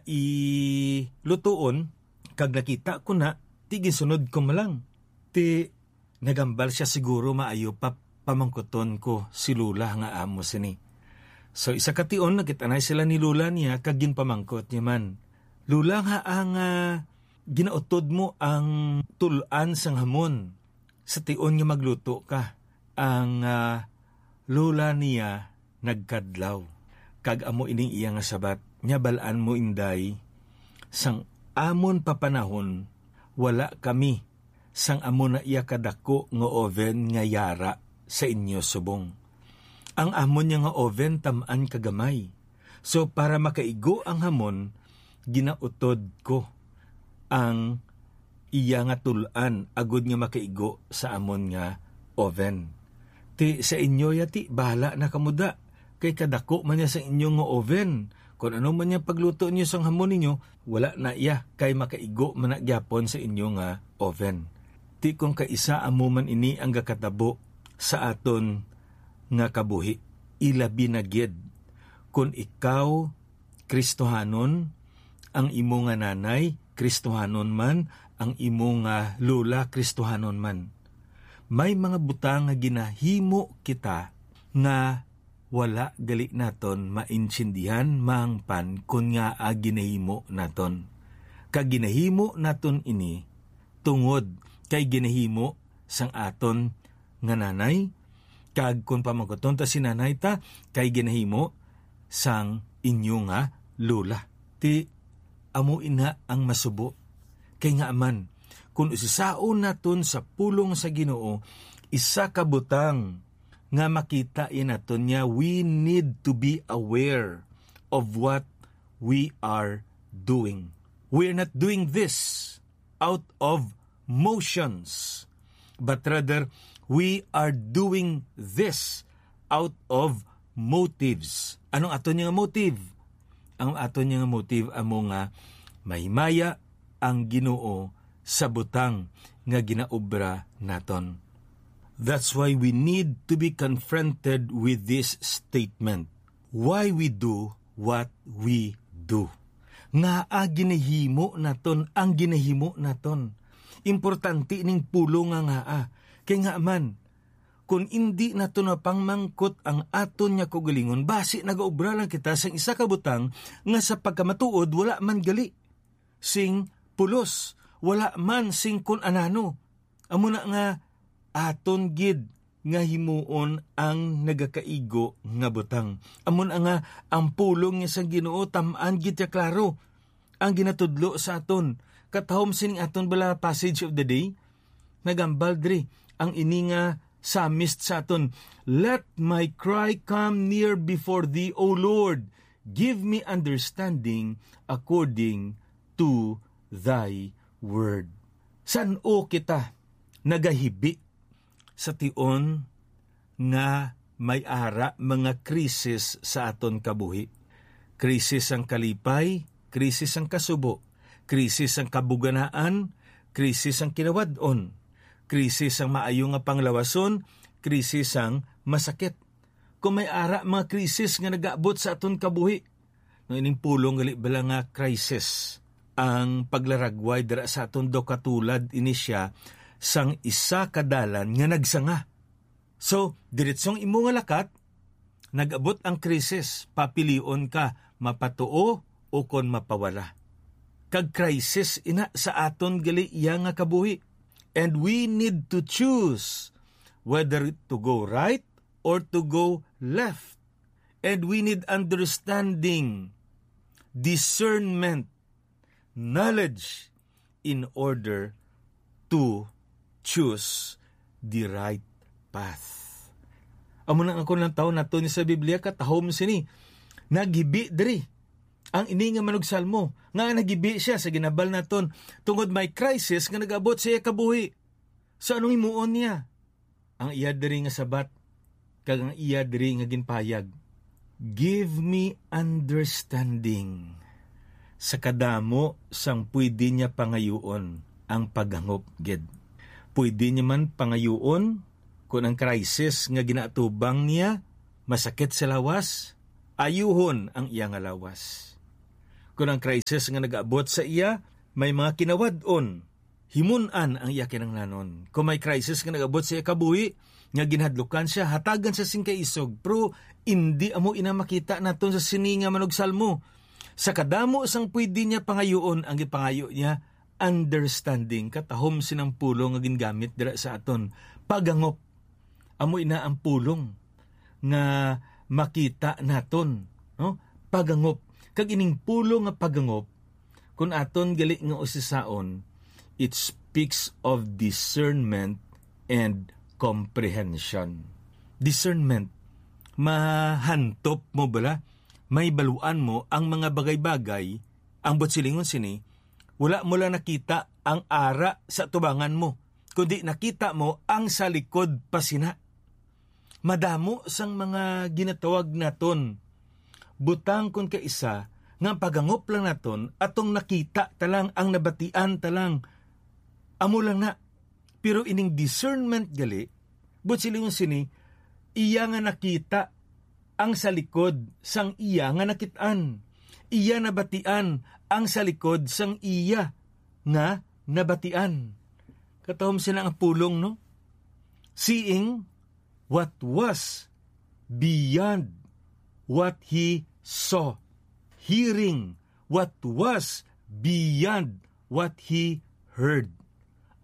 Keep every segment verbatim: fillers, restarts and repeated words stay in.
ilutuon, kag nakita ko na, ti ginsunod ko man lang. Ti nagambal siya, "Siguro maayo pa pamangkuton ko si Lola nga amo sini." So, isa ka tion, nagkita na sila ni Lola niya, kag ginpamangkot niya man, "Lola, nga ang, ah, ginautod mo ang tul-an sang hamon sa tion nga magluto ka?" Ang, ah, lola niya nagkadlaw, kag amo ining iya nga sabat, "Nya bal-an mo, Inday, sang amon pa panahon, wala kami sang amo na iya kadako nga oven nga yara sa inyo subong. Ang amon niya nga oven tam-an kagamay. So, para makaigo ang hamon, ginautod ko ang iya nga tul-an agud nga makaigo sa amon nga oven. Ti sa inyo ya, ti, bahala na kamo da, kay kadako man niya sa inyo nga oven. Kon ano man niya pagluto niyo sang hamon ninyo, wala na iya, kay makaigo man na gyapon sa inyo nga oven." Ti kon kaisa amo man ini ang gakatabo sa aton nga kabuhi, ilabi na gid kon ikaw Kristohanon, ang imo nga nanay Kristohanon man, ang imo nga lola Kristohanon man. May mga butang nga ginahimo kita nga wala gali naton maintindihan mahangpan kon ngaa ginahimo naton. Kag ginahimo naton ini tungod kay ginahimo sang aton nga nanay, kag kon pamangkuton ta si nanay ta, kay ginahimo sang inyo nga lola. Ti amo ina ang masubo. Kay ngaa man, kon usisaon naton sa pulong sa Ginoo, isa ka butang nga makita ya naton niya, we need to be aware of what we are doing. We are not doing this out of motions, but rather we are doing this out of motives. Anong aton nga motive? Ang aton nga motive amo nga mahimaya ang Ginoo sa butang nga ginaobra naton. That's why we need to be confronted with this statement. Why we do what we do? Ngaa ginahimo naton ang ginahimo naton? Importante ning pulong nga ngaa. Kay ngaa man, kun indi naton mapangmangkot ang aton nga kaugalingon, basi nagaobra lang kita sang isa ka butang nga sa pagkamatuod wala man gali sing pulos, wala man sing kun anano. Amo na nga aton gid nga himuon ang nagakaigo nga butang. Amo na nga ang pulong niya sang Ginoo tam-an gid ya klaro ang ginatudlo sa aton. Katahom sining aton bala passage of the day, nagambal diri ang ini nga psalmist sa aton, "Let my cry come near before thee, O Lord. Give me understanding according to thy word." San-o kita nagahibi sa tion nga may ara mga krisis sa aton kabuhi? Krisis sang kalipay, krisis sang kasubo, krisis sang kabuganaan, krisis sang kinawad-on, krisis sang maayo nga panglawason, krisis sang masakit. Kung may ara mga krisis nga nagaabot sa aton kabuhi, no, ining pulong gali bala nga crisis, ang paglaragway dira sa aton daw katulad ini sia sang isa ka dalan nga nagsanga. So, diretsong imo nga lakat, nag-abot ang krisis, papilion ka, mapatuo o kon mapawala. Kag crisis ina sa aton gali iya nga kabuhi. And we need to choose whether to go right or to go left. And we need understanding, discernment, knowledge in order to choose the right path. Amo na nga kon lantawon nato ni sa Biblia, katahom sini, naghibi diri ang ini nga manugsalmo, nga naghibi siya sa ginabal naton tungod may crisis nga nag-abot sa iya kabuhi. So, anong himuon niya? Ang iya diri nga sabat, kag ang iya diri nga ginpahayag, "Give me understanding." Sa kadamo sang pwede niya pangayuon ang paghangop gid. Pwede niya man pangayuon kon ang crisis nga ginaatubang niya masakit sa lawas, ayuhon ang iya nga lawas. Kon ang crisis nga nag-abot sa iya may mga kinawad-on, himun-an ang iya kinahanglanon. Kung may crisis nga nag-abot sa iya kabuhi, nga ginhadlukan siya, hatagan siya sing kaisog. Pero indi amo ina makita naton sa sini nga manugsalmo. Sa kadamo sang pwede niya pangayuon, ang gipangayo niya, understanding. Katahom sinang pulong nga gingamit dira sa aton, pagangop. Amo ina ang pulong nga makita naton, no? Pagangop. Kag ining pulong nga pagangop, kung aton gali nga usisaon, it speaks of discernment and comprehension. Discernment, mahantop mo bala, may baluan mo ang mga bagay-bagay, ang buot silingon sini, wala mo lang nakita ang ara sa tubangan mo, kundi nakita mo ang sa likod pa sina. Madamo sang mga ginatawag naton butang kon kaisa nga pagangop lang naton, atong nakita ta lang, ang nabatian ta lang. Amo lang na. Pero ining discernment gali, buot silingon sini, iya nga nakita ang sa likod sang iya nga nakit-an. Iya nabatian ang sa likod sang iya nga nabatian. Katahom sina ang pulong, no? Seeing what was beyond what he saw. Hearing what was beyond what he heard.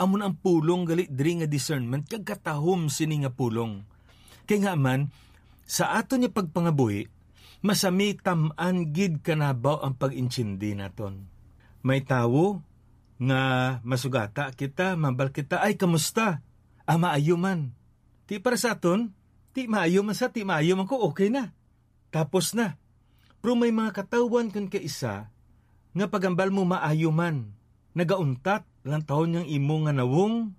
Amo na ang pulong gali diri nga discernment, kag katahom sini nga pulong. Kay nga man, sa aton nga pagpangabuhi, masami tam-an gid kanabaw ang pag-intindi naton. May tawo nga masugata kita, mambal kita, "Ay, kamusta? Ah, maayo man." Ti para sa aton, ti maayo man sa, ti maayo man ko, okay na. Tapos na. Pero may mga katawhan kon kaisa nga pagambal mo maayo man. Nagauntat lang taon yang imo nga nawong,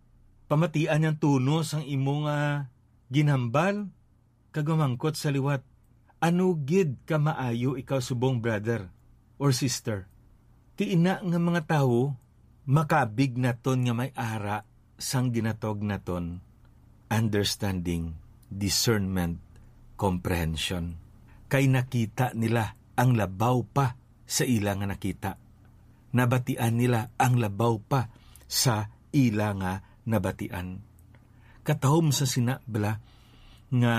pamatian yang tono sang imo nga ginhambal, kag mamangkot sa liwat, "Ano gid ka maayo ikaw subong, brother or sister?" Ti ina nga mga tawo, makabig naton nga may ara sang ginatawag naton understanding, discernment, comprehension. Kay nakita nila ang labaw pa sa ila nga nakita. Nabatian nila ang labaw pa sa ila nga nabatian. Katahom sa sina bala nga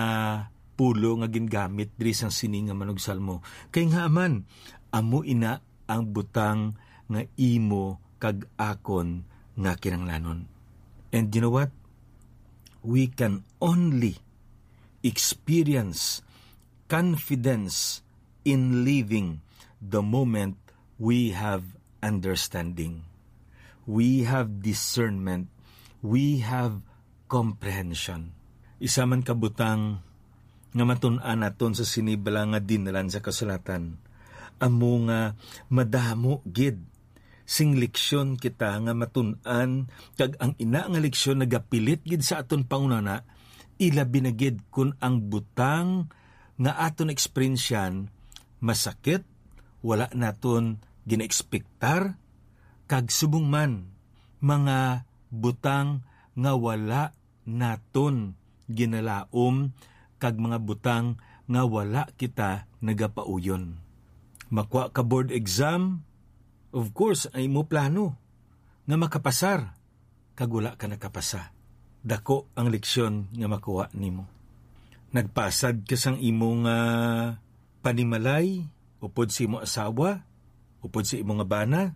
pulo nga gingamit diri sang sini nga manugsalmo. Kay nga man, amo ina ang butang nga imo kag akon nga kinahanglanon. And you know what? We can only experience confidence in living the moment we have understanding, we have discernment, we have comprehension. Isa man ka butang nga matun-an naton sa sini bala nga dinlan sa kasulatan, amo nga madamo gid sing leksyon kita nga matun-an, kag ang ina nga leksyon nagapilit gid sa aton panghunahuna, ilabi na gid kon ang butang nga aton eksperyensyan masakit, wala naton ginaekspektar, kag subong man mga butang nga wala naton ginalaom, kag mga butang nga wala kita nagapauyon. Makuha ka board exam, of course, ang imo plano nga makapasar, kag wala ka nakapasa. Dako ang leksyon nga makuha nimo. Nagpasad ka sang imo nga panimalay upod sa imo asawa, upod sa imo nga bana.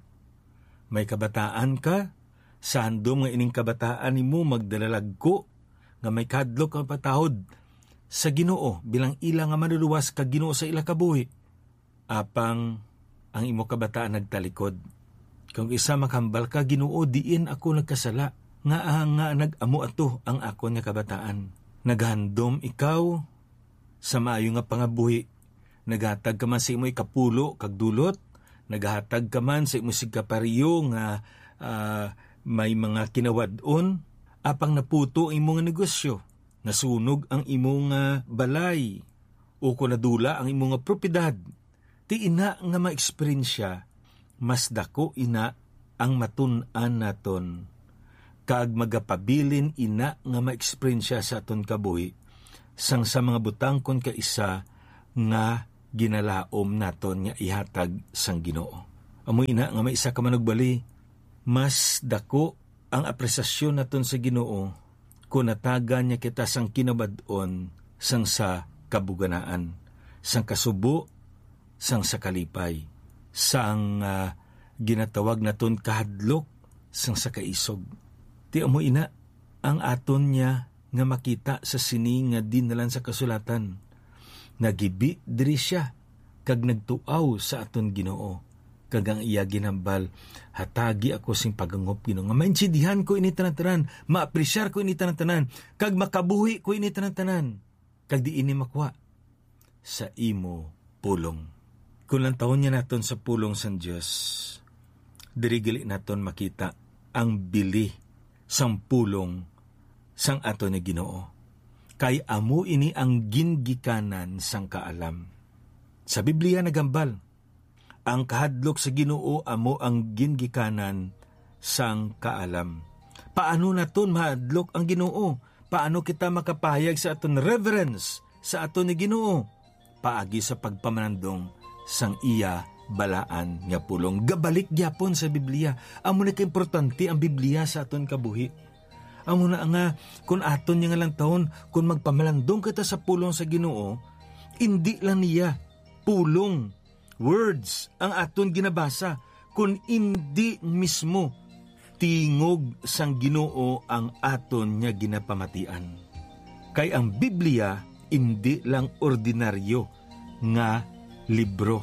May kabataan ka, sa handom nga ining kabataan nimo magdalalagko nga may kahadlok nga patahod sa Ginoo bilang ila nga manluluwas kag Ginoo sa ila kabuhi. Apang ang imo kabataan nagtalikod. Kung isa makahambal ka, "Ginoo, diin ako nagkasala? Ngaa nga nag-amo ato ang akon nga kabataan?" Naghandom ikaw sa maayo nga pangabuhi. Naghatag ka man sa imo ikapulo kag dulot, naghatag ka man sa imo sigkapareho nga, ah, may mga kinawad-on, apang naputo ang imo nga negosyo, nasunog ang imo nga balay, o kon nadula ang imo nga propiedad. Ti ina nga mga eksperyensya, mas dako ina ang matun-an naton, kag magapabilin ina nga mga eksperyensya sa aton kabuhi sang sa mga butang kon kaisa nga ginalaom naton nga ihatag sang Ginoo. Amo ina nga may isa ka manugbali, mas dako ang apresasyon naton sa Ginoo kon natagan niya kita sang kinabad-on sang sa kabuganaan, sang kasubo, sang sa kalipay, sang, ah, ginatawag naton kahadlok, sang sa kaisog. Ti amo ina ang aton niya nga makita sa sini nga dinalan sa kasulatan. Nagibi diri sia kag nagtuaw sa aton Ginoo, kag ang iya ginhambal, "Hatagi ako sing pagangop, Ginoo, nga maintindihan ko ini tanan-tanan, maapresyar ko ini tanan-tanan, kag makabuhi ko ini tanan-tanan, kag di ini makwa sa imo pulong." Kung lantawon niya naton sa pulong sang Dios, diri gali naton makita ang bili sang pulong sang aton nga Ginoo, kay amo ini ang gingikanan sang kaalam. Sa Biblia nagambal, "Ang kahadlok sa Ginoo amo ang gingikanan sang kaalam." Paano naton mahadlok ang Ginoo? Paano kita makapahayag sa aton reverence sa aton nga Ginoo? Paagi sa pagpamalandong sang iya balaan nga pulong. Gabalik gyapon sa Biblia. Amo na kaimportante ang Biblia sa aton kabuhi. Amo na nga, kun aton niya nga lantawon, kun magpamalandong kita sa pulong sa Ginoo, indi lang niya pulong, words, ang aton ginabasa, kun indi mismo tingog sang Ginoo ang aton nga ginapamatian. Kay ang Biblia indi lang ordinaryo nga libro,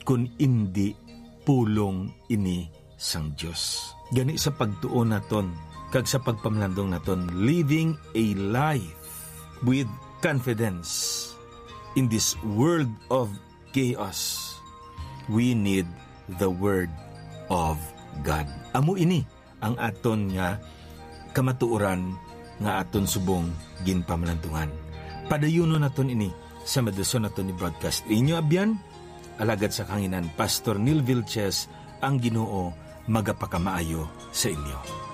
kun indi pulong ini sang Dios. Gani, sa pagtuon naton kag sa pagpamalandong naton, living a life with confidence in this world of chaos, we need the Word of God. Amo ini ang aton nga kamatuoran nga aton subong ginpamalandungan. Padayunon naton ini sa madison naton ni broadcast. Inyo abyan, alagad sa kanginan, Pastor Neil Vilches, ang Ginoo magapakamaayo sa inyo.